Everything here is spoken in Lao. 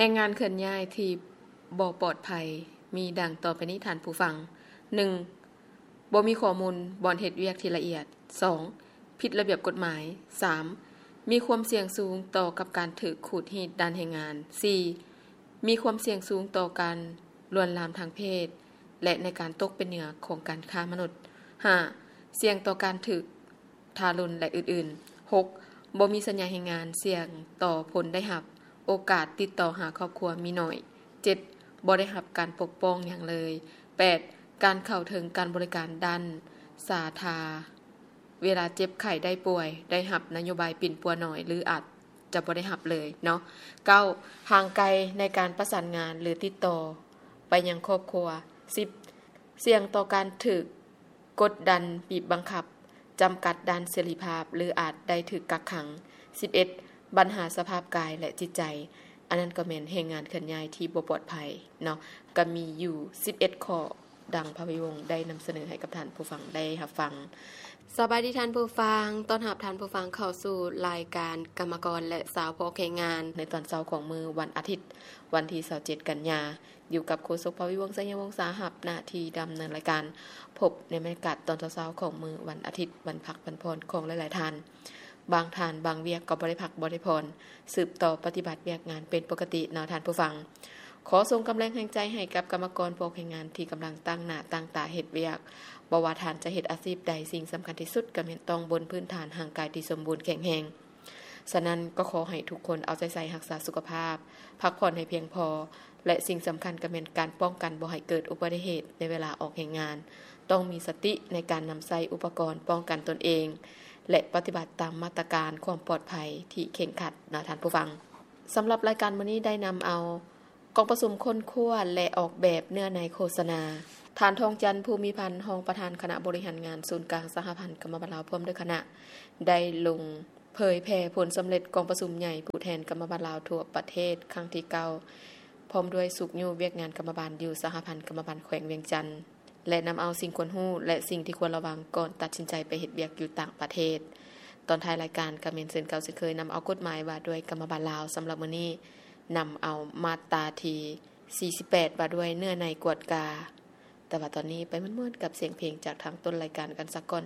ແຮງງານເຄື່ອນຍ້າຍທີ່ບໍ່ປອດໄພ ມີດັ່ງຕໍ່ໄປນີ້ທ່ານຜູ້ຟັງ. ໜຶ່ງ ບໍ່ມີຂໍ້ມູນບ່ອນເຮັດວຽກທີ່ລະອຽດ. ສອງ ຜິດລະບຽບກົດໝາຍ. ສາມ ມີຄວາມສ່ຽງສູງຕໍ່ກັບການຖືກຂູດຮີດດ້ານແຮງງານ. ສີ່ ມີຄວາມສ່ຽງສູງຕໍ່ການລວນລາມທາງເພດ ແລະ ໃນການຕົກເປັນເຫຍື່ອຂອງການຄ້າມະນຸດ. ຫ້າ ສ່ຽງຕໍ່ການຖືກ ທາລຸນ ແລະ ອື່ນໆ. ຫົກ ບໍ່ມີສັນຍາແຮງງານ, ສ່ຽງຕໍ່ຜົນໄດ້ຮັບ, ໂອກາດຕິດຕໍ່ຫາຄອບຄົວມີໜ້ອຍ. ເຈັດ ບໍ່ໄດ້ຮັບການປົກປ້ອງຫຍັງເລີຍ. ແປດ ການເຂົ້າເຖິງການບໍລິການດ້ານສາທາ ເວລາເຈັບໄຂ້ໄດ້ປ່ວຍ ໄດ້ຮັບນະໂຍບາຍປິ່ນປົວໜ້ອຍ ຫຼື ອາດຈະບໍ່ໄດ້ຮັບເລີຍເນາະ. ເກົ້າ ຫ່າງໄກໃນການປະສານງານ ຫຼື ຕິດຕໍ່ໄປຍັງຄອບຄົວ. ສິບ ສ່ຽງຕໍ່ການຖືກ ກົດດັນ, ບີບບັງຄັບ, ຈຳກັດດ້ານເສລີພາບ ຫຼື ອາດໄດ້ຖືກກັກຂັງ. ສິບເອັດ ບັນຫາສະພາບກາຍ ແລະ ຈິດໃຈ. ອັນນັ້ນກໍແມ່ນແຮງງານເຄື່ອນຍ້າຍທີ່ບໍ່ປອດໄພເນາະ, ກໍມີຢູ່ສິບເອັດຂໍ້ ດັ່ງພະວິວົງໄດ້ນຳສະເໜີໃຫ້ກັບທ່ານຜູ້ຟັງໄດ້ຮັບຟັງ. ສະບາຍດີທ່ານຜູ້ຟັງ, ຕ້ອນຮັບທ່ານຜູ້ຟັງເຂົ້າສູ່ລາຍການກຳມະກອນ ແລະ ຊາວພອກແຮງງານ ໃນຕອນເຊົ້າຂອງມື້ວັນອາທິດ ວັນທີຊາວເຈັດ ກັນຍາ. ຢູ່ກັບໂຄສົກພະວິວົງ ໄຊຍະວົງສາ ຮັບໜ້າທີ່ດຳເນີນລາຍການ. ພົບໃນບັນຍາກາດຕອນເຊົ້າໆຂອງມື້ວັນອາທິດ ວັນພັກວັນຜ່ອນຂອງຫຼາຍໆທ່ານ. ບາງທ່ານບາງວຽກກໍບໍ່ໄດ້ພັກບໍ່ໄດ້ຜ່ອນ, ສືບຕໍ່ປະຕິບັດວຽກງານເປັນປົກກະຕິເນາະທ່ານຜູ້ຟັງ. ຂໍສົ່ງກຳລັງແຮງໃຈໃຫ້ກັບກຳມະກອນພວກແຮງງານທີ່ກຳລັງຕັ້ງໜ້າຕັ້ງຕາເຮັດວຽກ. ບໍ່ວ່າທ່ານຈະເຮັດອາຊີບໃດ, ສິ່ງສຳຄັນທີ່ສຸດກໍແມ່ນຕ້ອງບົນພື້ນຖານຮ່າງກາຍທີ່ສົມບູນແຂງແຮງ. ສະນັ້ນກໍຂໍໃຫ້ທຸກຄົນເອົາໃຈໃສ່ຮັກສາສຸຂະພາບ, ພັກຜ່ອນໃຫ້ພຽງພໍ ແລະ ສິ່ງສຳຄັນກໍແມ່ນການປ້ອງກັນບໍ່ໃຫ້ເກີດອຸບັດຕິເຫດໃນເວລາອອກແຮງງານ. ຕ້ອງມີສະຕິໃນການນຳໃຊ້ອຸປະກອນປ້ອງກັນຕົນເອງ ແລະ ປະຕິບັດຕາມມາດຕະການຄວາມປອດໄພທີ່ເຄັ່ງຄັດເນາະທ່ານຜູ້ຟັງ. ສຳລັບລາຍການມື້ນີ້ໄດ້ນຳເອົາ ກອງປະຊຸມຄົ້ນຄວ້າ ແລະ ອອກແບບເນື້ອໃນໂຄສະນາ. ທ່ານ ທອງຈັນ ພູມີພັນ ຮອງປະທານຄະນະບໍລິຫານງານສູນກາງສະຫະພັນກຳມະບານລາວ ພ້ອມດ້ວຍຄະນະ ໄດ້ລົງເຜີຍແຜ່ຜົນສຳເລັດກອງປະຊຸມໃຫຍ່ຜູ້ແທນກຳມະບານລາວທົ່ວປະເທດຄັ້ງທີເກົ້າ ພ້ອມດ້ວຍຊຸກຍູ້ວຽກງານກຳມະບານຢູ່ສະຫະພັນກຳມະບານແຂວງວຽງຈັນ ແລະ ນຳເອົາສິ່ງຄວນຮູ້ ແລະ ສິ່ງທີ່ຄວນລະວັງກ່ອນຕັດສິນໃຈໄປເຮັດວຽກຢູ່ຕ່າງປະເທດ. ຕອນທ້າຍລາຍການກໍແມ່ນເຊັ່ນເກົ່າເຊັ່ນເຄີຍ, ນຳເອົາກົດໝາຍວ່າດ້ວຍກຳມະບານລາວ. ສຳລັບມື້ນີ້ ນຳເອົາມາດຕາທີສີ່ສິບແປດ ວ່າດ້ວຍເນື້ອໃນກວດກາ. ແຕ່ວ່າຕອນນີ້ໄປມ່ວນໆກັບສຽງເພງຈາກທາງຕົ້ນລາຍການກັນສາກ່ອນ.